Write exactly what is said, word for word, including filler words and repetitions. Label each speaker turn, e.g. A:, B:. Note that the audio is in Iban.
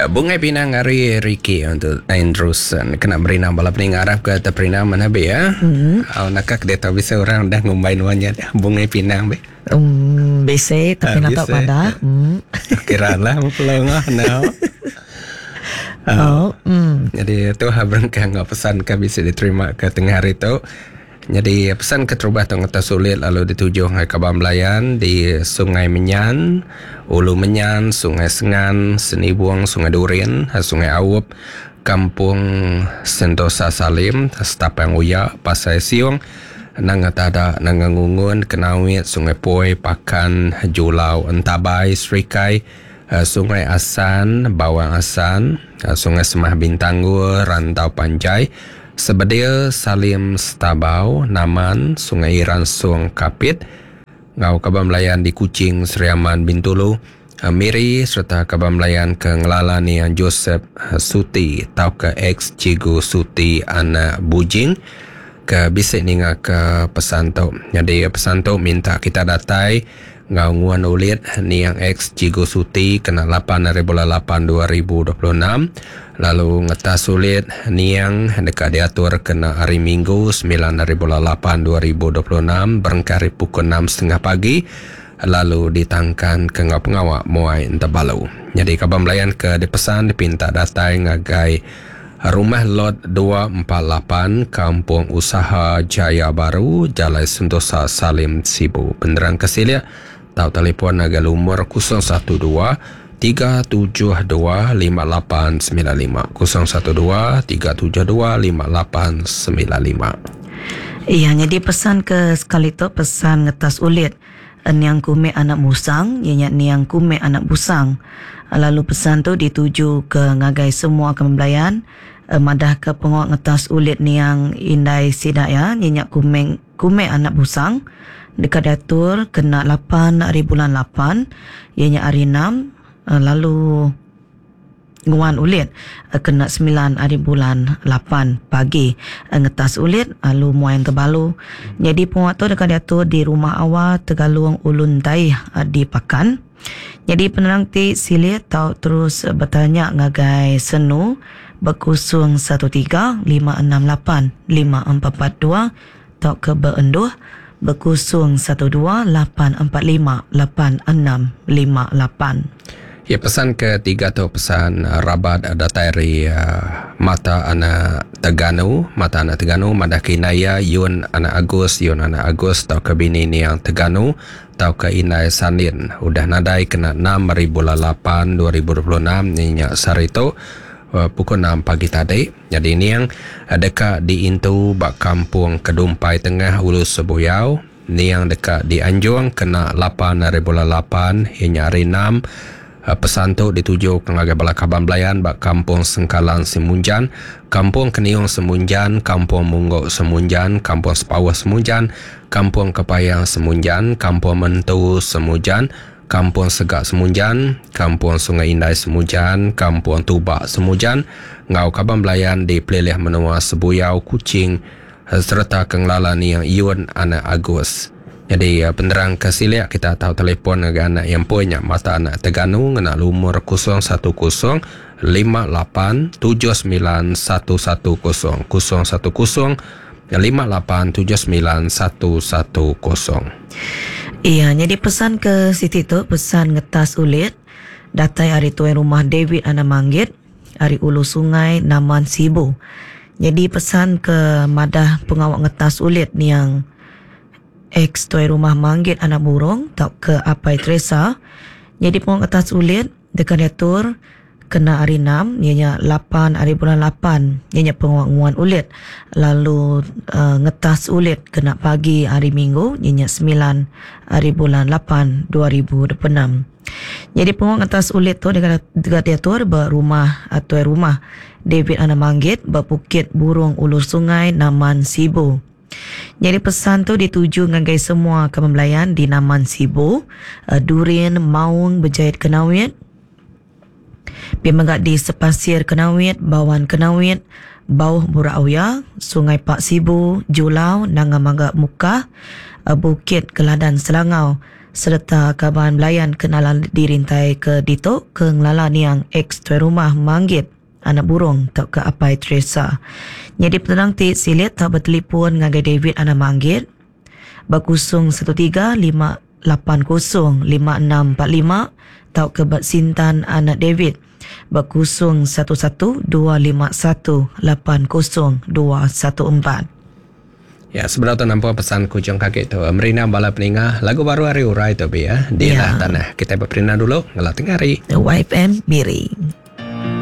A: Bungai Pinang ari Ricky untuk Andrewson. Kena berinang bala peninga arap ke terperinang mana be ya. Mm-hmm. Oh, nakak dia tahu bisa orang dah ngumbai nuannya Bungai Pinang be.
B: Um, bisi tapi uh, nak pada.
A: Mm. Kira lah pulau ngah no.
B: Oh, mm.
A: Jadi tu berengkah ngau pesan ke bisa diterima ke tengah hari tu. Jadi pesan keterubah tu ngata sulit lalu dituju ngai Kaban Belayan di Sungai Menyan, Ulu Menyan, Sungai Sengan, Senibuang, Sungai Durin, Sungai Awup, Kampung Sentosa Salim, Setapang Uya, Pasai Siung, Nanga Tada, Nanga Ngungun, Kenawit, Sungai Poi, Pakan, Julau, Entabai, Serikai, Sungai Asan, Bawang Asan, Sungai Semah Bintanggur, Rantau Panjai, Sebedil Salim Stabau, Naman, Sungai Iran Suang Kapit, Ngau Kaban Melayan di Kuching, Seriaman, Bintulu, Miri serta Kaban Melayan ke Ngelala ni Joseph Suti tau ke ex Cigu Suti anak Bujing ke bisik ninga ke pesan tu. Jadi pesan tu minta kita datai ngau nguan ulit niang ex Cigu Suti kena lapan hari bulan lapan dua ribu dua puluh enam, lalu ngetas sulit niang dekat diatur kena hari Minggu sembilan hari bulan lapan dua ribu dua puluh enam berengkah hari pukul enam setengah pagi, lalu ditangkan ke ngau pengawak muai entabalu. Jadi kaban melayan ke dipesan dipinta datai ngagai Rumah Lot dua empat lapan Kampung Usaha Jaya Baru, Jalan Sentosa Salim Sibu. Penerang kesilia tau telefon agar lumur kosong satu dua tiga tujuh dua lima lapan sembilan lima kosong satu dua tiga tujuh dua lima lapan sembilan lima.
B: Iya, jadi pesan ke sekali tu pesan ngetas ulit niang kume anak musang, ianya niang kume anak busang. Lalu pesan tu dituju ke ngagai semua kembelayan madah ke pengok ngetas ulit niang indai sidak ya, nyenyak kume kume anak busang dekat diatur kena lapan hari bulan lapan, ianya hari enam, lalu nguan ulit kena sembilan hari bulan lapan pagi ngetas ulit lalu muayan terbalu. Jadi penguat tu dekat diatur di rumah awal Tegalung Ulun Tai di Pakan. Jadi penerang ti silit tau terus bertanya ngagai senu berkusung satu tiga lima enam lapan lima empat empat dua tau ke beenduh berkusung satu dua lapan empat lima lapan enam lima lapan.
A: Ya, pesan ketiga tu pesan rabat datari uh, mata anak Teganu, mata anak Teganu madah kinaya Yun anak Agus, Yun anak Agus tau ke bini niang Teganu tau ke Inai Sandin udah nadai kena enam hari bulan lapan dua ribu dua puluh enam ni nyak sari tu uh, pukul enam pagi tadi. Jadi niang uh, dekat di Intu bak kampung Kedumpai Tengah Ulu Sebuyau, niang dekat di Anjung kena lapan hari bulan lapan hingga hari enam. Pesan tu dituju ke ngagai bala kaban belayan bak Kampung Sengkalan Semunjan, Kampung Keniung Semunjan, Kampung Munggok Semunjan, Kampung Sepawah Semunjan, Kampung Kepayang Semunjan, Kampung Mentu Semujan, Kampung Segak Semunjan, Kampung Sungai Indai Semujan, Kampung Tubak Semujan, ngau kaban belayan di Pelilih Menua Sebuyau Kuching serta kengelala niang Yun anak Agus. Jadi penerang kesiliak kita tahu telefon dengan anak yang punya mata anak Teganu ngena lumur kosong satu kosong lima lapan tujuh sembilan satu satu kosong kosong satu kosong lima lapan tujuh sembilan satu satu kosong.
B: Iya, jadi pesan ke Siti tu pesan ngetas ulit datai hari tuan rumah David anak Manggit hari Ulu Sungai Naman Sibu. Jadi pesan ke madah pengawak ngetas ulit niang ex tuai rumah Manggit anak burung tau ke Apai Teresa. Jadi pengawak ngetas ulit dekat diatur kena hari enam, ianya lapan hari bulan lapan, ianya pengawak nguan ulit. Lalu uh, ngetas ulit kena pagi hari Minggu, ianya sembilan hari bulan lapan dua ribu dua puluh enam. Jadi pengawak ngetas ulit tu dekat, dekat diatur berumah atau rumah David anak Manggit berbukit Burung Ulu Sungai Naman Sibu. Jadi pesan tu dituju ngagai semua kembelayan di Naman Sibu, Durin, Maung, Berjayat Kenawit, Pimenggat di Sepasir Kenawit, Bawan Kenawit, Bauh Burauya, Sungai Pak Sibu, Julau, Nanga Mangga Mukah, Bukit Keladan Selangau, Sereta kaban belayan kenalan dirintai ke ditu ke ngelala niang ex tuai rumah Manggit anak burung tau ke Apai Teresa. Jadi penerang ti silit tau bertelefon ngagai David anak Manggit berkusung satu tiga lima lapan kosong lima enam empat lima tau ke Sintan anak David berkusung satu satu dua lima satu lapan kosong dua satu empat.
A: Ya, sebelum tu nampak pesan kujung kaki tu. Merina bala peninga lagu baru hari urai tu bi ya. Di ya. Tanah. Kita berperina dulu ngelah tengah hari.
B: Y F M Miri.